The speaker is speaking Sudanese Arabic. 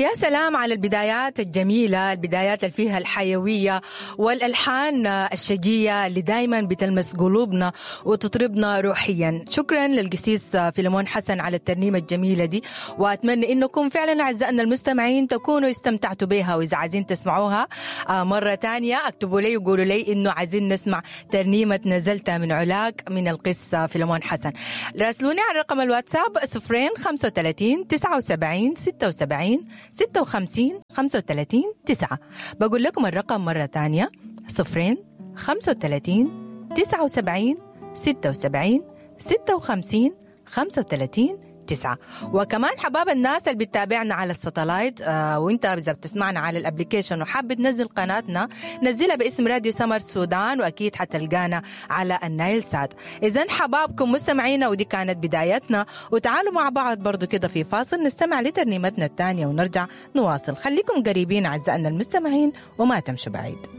يا سلام على البدايات الجميلة، البدايات اللي فيها الحيوية والألحان الشجية اللي دايما بتلمس قلوبنا وتطربنا روحيا. شكرا للقسيس فيلمون حسن على الترنيمة الجميلة دي، وأتمنى إنكم فعلا أعزائنا المستمعين تكونوا استمتعتوا بها، وإذا عايزين تسمعوها مرة تانية اكتبوا لي وقولوا لي إنه عايزين نسمع ترنيمة نزلت من علاك من القس فيلمون حسن. راسلوني على رقم الواتساب 0 35 79 76 56 35 9. بقول لكم الرقم مرة تانية 0 35 79 76 56 35 9. وكمان حباب الناس اللي بتتابعنا على ال satellite، وانت اذا بتسمعنا على ال application وحابب تنزل قناتنا نزلها باسم راديو سمر سودان، واكيد حتلقانا على النايل سات. اذا حبابكم مستمعينا، ودي كانت بدايتنا، وتعالوا مع بعض برضو كده في فاصل نستمع لترنيمتنا الثانية ونرجع نواصل. خليكم قريبين اعزائنا المستمعين وما تمشوا بعيد.